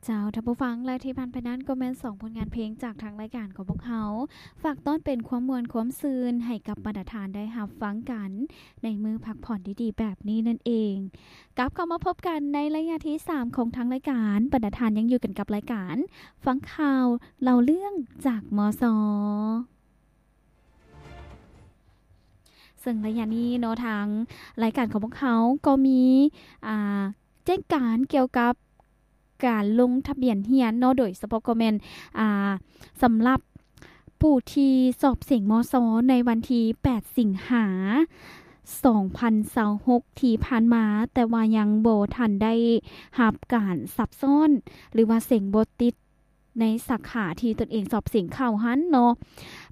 ເຈົ້າ ທ່ານຜູ້ຟັງ ແລະ ທີ່ຜ່ານໄປນັ້ນກໍແມ່ນສອງຜົນງານເພງຈາກທາງລາຍການຂອງພວກເຮົາ ຝາກຕ້ອນເປັນຄວາມມ່ວນຄວາມຊື່ນໃຫ້ກັບບັນດາທ່ານໄດ້ຮັບຟັງກັນໃນມື້ພັກຜ່ອນດີໆແບບນີ້ນັ້ນເອງ. ກັບເຂົ້າມາພົບກັນໃນໄລຍະທີສາມຂອງທາງລາຍການ, ບັນດາທ່ານຍັງຢູ່ກັນກັບລາຍການຟັງຂ່າວເລົ່າເລື່ອງຈາກ ມສ. ເຊິ່ງໄລຍະນີ້ເນາະ ທາງລາຍການຂອງພວກເຮົາກໍມີ ອ່າ ແຈ້ງການກ່ຽວກັບການລົງທະບຽນຮຽນເນາະ, ໂດຍສະເພາະກໍແມ່ນ ອ່າ ສຳລັບຜູ້ທີ່ສອບເສັງ ມສ ໃນວັນທີແປດ ສິງຫາ ສອງພັນຊາວຫົກ ທີ່ຜ່ານມາ, ແຕ່ວ່າຍັງບໍ່ທັນໄດ້ຮັບການຊັບຊ້ອນ ຫຼືວ່າເສັງບໍ່ຕິດ ໃນສາຂາທີ່ຕົນເອງສອບເສັງເຂົ້າຫັ້ນເນາະ.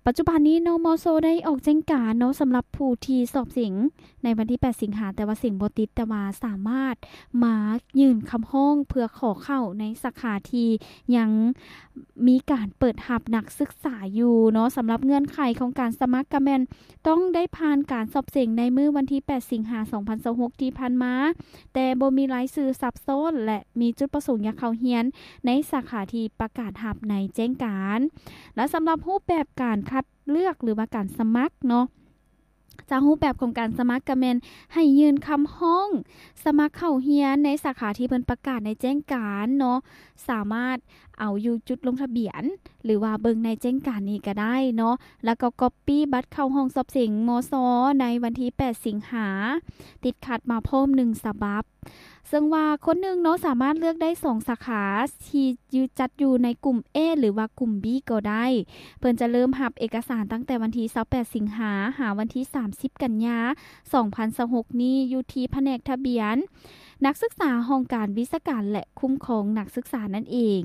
ປັດຈຸບັນນີ້ເນາະ ມສ ໄດ້ອອກແຈ້ງການເນາະ ສຳລັບຜູ້ທີ່ສອບເສັງໃນວັນທີແປດ ສິງຫາ ແຕ່ວ່າເສັງບໍ່ຕິດ, ແຕ່ວ່າສາມາດມາຍື່ນຄຳຮ້ອງເພື່ອຂໍເຂົ້າໃນສາຂາທີ່ຍັງມີການເປີດຮັບນັກສຶກສາຢູ່ເນາະ. ສຳລັບເງື່ອນໄຂຂອງການສະໝັກກໍແມ່ນ ຕ້ອງໄດ້ຜ່ານການສອບເສັງໃນມື້ວັນທີແປດ ສິງຫາ ສອງພັນຊາວຫົກ ທີ່ຜ່ານມາ, ແຕ່ບໍ່ມີລາຍຊື່ຊັບຊ້ອນ ແລະ ມີຈຸດປະສົງຢາກເຂົ້າຮຽນໃນສາຂາທີ່ປະກາດຮັບໃນແຈ້ງການ. ແລະ ສຳລັບຮູບແບບການຄັດເລືອກ ຫຼືວ່າການສະໝັກເນາະ, ຈາກຮູບແບບຂອງການສະໝັກກໍແມ່ນໃຫ້ຍື່ນຄຳຮ້ອງສະໝັກເຂົ້າຮຽນໃນສາຂາທີ່ເພິ່ນປະກາດໃນແຈ້ງການເນາະ, ສາມາດເອົາຢູ່ຈຸດລົງທະບຽນ ຫຼືວ່າເບິ່ງໃນແຈ້ງການນີ້ກໍໄດ້ເນາະ, ແລ້ວກໍກັອບປີ້ບັດເຂົ້າຫ້ອງສອບເສັງ ມສ ໃນວັນທີແປດ ສິງຫາ ຕິດຂັດມາພ້ອມໜຶ່ງສະບັບ. ເຊິ່ງວ່າຄົນໜຶ່ງເນາະ ສາມາດເລືອກໄດ້ສອງສາຂາທີ່ຢູ່ ຈັດຢູ່ໃນກຸ່ມ A ຫຼືວ່າກຸ່ມ B ກໍໄດ້. ເພິ່ນຈະເລີ່ມຮັບເອກະສານຕັ້ງແຕ່ວັນທີຊາວແປດ ສິງຫາ ຫາວັນທີສາມສິບ ກັນຍາ ສອງພັນຊາວຫົກ ນີ້ ຢູ່ທີ່ພະແນກທະບຽນນັກສຶກສາ ຫ້ອງການວິຊາການ ແລະ ຄຸ້ມຄອງນັກສຶກສານັ້ນເອງ.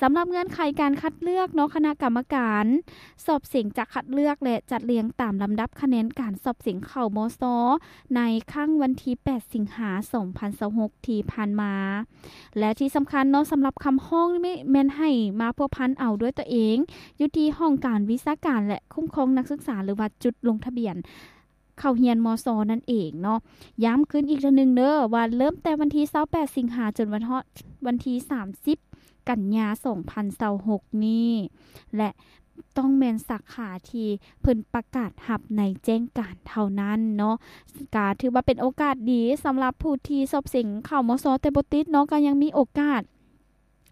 ສຳລັບເງື່ອນໄຂການຄັດເລືອກເນາະ, ຄະນະກຳມະການສອບເສັງຈະຄັດເລືອກ ແລະ ຈັດລຽງຕາມລຳດັບຄະແນນການສອບເສັງເຂົ້າ ມສ ໃນຄັ້ງວັນທີແປດ ສິງຫາ ສອງພັນຊາວຫົກ ທີ່ຜ່ານມາ. ແລະ ທີ່ສຳຄັນເນາະ, ສຳລັບຄຳຮ້ອງນີ້ແມ່ນໃຫ້ມາພົວພັນເອົາດ້ວຍຕົວເອງ ຢູ່ທີ່ຫ້ອງການວິຊາການ ແລະ ຄຸ້ມຄອງນັກສຶກສາ ຫຼືວ່າຈຸດລົງທະບຽນ ເຂົ້າຮຽນ ມສ ນັ້ນເອງເນາະ. ຢ້ຳຄືນອີກເທື່ອໜຶ່ງເດີ ວ່າເລີ່ມແຕ່ວັນທີຊາວແປດ ສິງຫາ ຈົນວັນຮອດວັນທີສາມສິບ ກັນຍາ ສອງພັນຊາວຫົກ ນີ້ ແລະ ຕ້ອງແມ່ນສາຂາທີ່ເພິ່ນປະກາດຮັບໃນແຈ້ງການເທົ່ານັ້ນເນາະ. ກະຖືວ່າເປັນໂອກາດດີສຳລັບຜູ້ທີ່ສອບເສັງເຂົ້າ ມສ ແຕ່ບໍ່ຕິດເນາະ, ກະຍັງມີໂອກາດ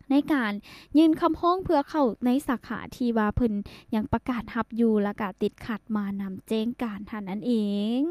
ໃນການຍື່ນຄຳຮ້ອງເພື່ອເຂົ້າໃນສາຂາທີ່ວ່າເພິ່ນຍັງປະກາດຮັບຢູ່ ແລ້ວກະຕິດຂັດມານຳແຈ້ງການຫັ້ນນັ້ນເອງ.